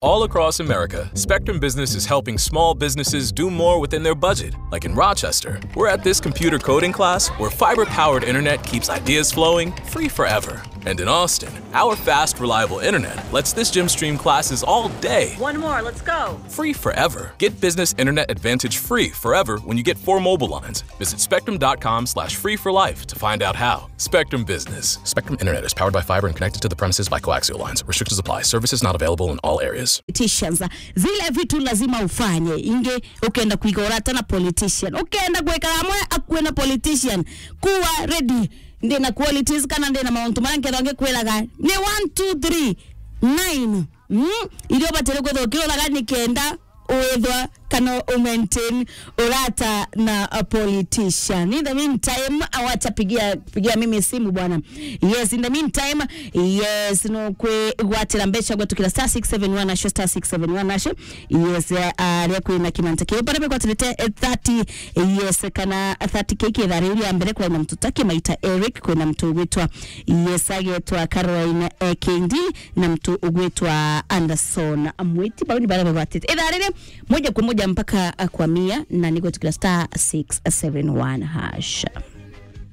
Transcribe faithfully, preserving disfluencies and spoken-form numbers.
All across America, Spectrum Business is helping small businesses do more within their budget. Like in Rochester, we're at this computer coding class where fiber powered internet keeps ideas flowing free forever. And in Austin, our fast, reliable internet lets this gym stream classes all day. One more, let's go. Free forever. Get business internet advantage free forever when you get four mobile lines. Visit spectrum dot com slash free for life to find out how. Spectrum Business. Spectrum Internet is powered by fiber and connected to the premises by coaxial lines. Restrictions apply. Services not available in all areas. Politicians. Zile vitu lazima ufanye. Inge, ukenda kuiga urata na politician. Ukenda kuweka amwe akuwe na politician. Kuwa ready. Ndina qualities kana ndina mauntu maria nkethwa ngikwiraga. Ni one, two, three, nine. Mm? Iria ubatire kwithwa ukiuraga ni kenda withwa kana u maintain urata na a politician. In the meantime, awacha pigia, pigia mimi simu bwana. Yes, in the meantime, yes, no kwi gwatira mbeca gwetukira star six seven one hash, star six seven one hash. Yes, eh, aria kwina kimanta kiu. Bara begwatirite, eh, thirty, yes, kana thirty K kitha riu ria mbere, kwina mtu taki maita Eric, kwina mtu gwitwa, yes, agetwa Caroline, eh, Kendi, na mtu ugwitwa Anderson Mwiti. Bau ni bara begwatite. Itha riri, moja kwa moja mpaka, ah, kwa mia, na ni gwetukira star six seven one hash.